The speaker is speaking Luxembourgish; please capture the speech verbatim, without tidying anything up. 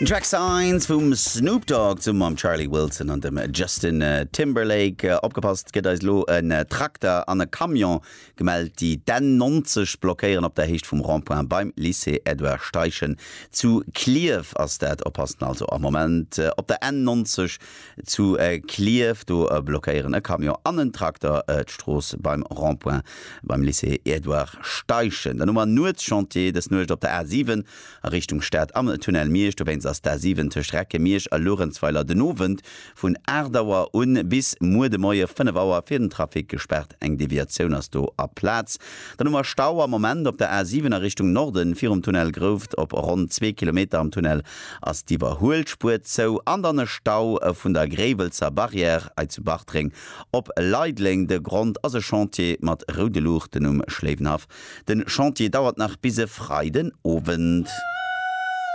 Den Track Signs vum Snoop Dogg zesumme mam Charlie Wilson an dem Justin Timberlake. Opgepasst, et gëtt eis elo en Trakter an e Camion gemellt, déi d'N neunzeg blockéieren op der Héicht vum Rond-point beim Lycée Edouard Steichen zu Klierf ass dat. Oppassen also am Moment op der N neunzeg zu Klierf, do blockéieren e Camion an en Trakter d'Strooss beim Rond-point beim Lycée Edouard Steichen. Dann hu mer Nuetschantier dës Nuecht op der A siwen a Richtung Stad am Tunnel Miersch. Dowéinst ass d'A siwen tëscht Recke-Miersch a Luerenzweiler den Owend vun aacht Auer un bis muer de Moie fënnef Auer fir den Trafic gespaart. Eng Deviatioun ass do a Plaz. Dann hu mer Stau am Moment op der A siwen a Richtung Norden virum Tunnel Grouft op ronn zwee Kilometer. Am Tunnel ass d'Iwwerhuelspuer zou. An dann e Stau vun der Gréiwelzer Barrière hei zu Bartreng op Leideleng. De Grond ass e Chantier mat roude Luuchten um Schléiwenhaff. Den Chantier dauert nach bis e Freiden Owend.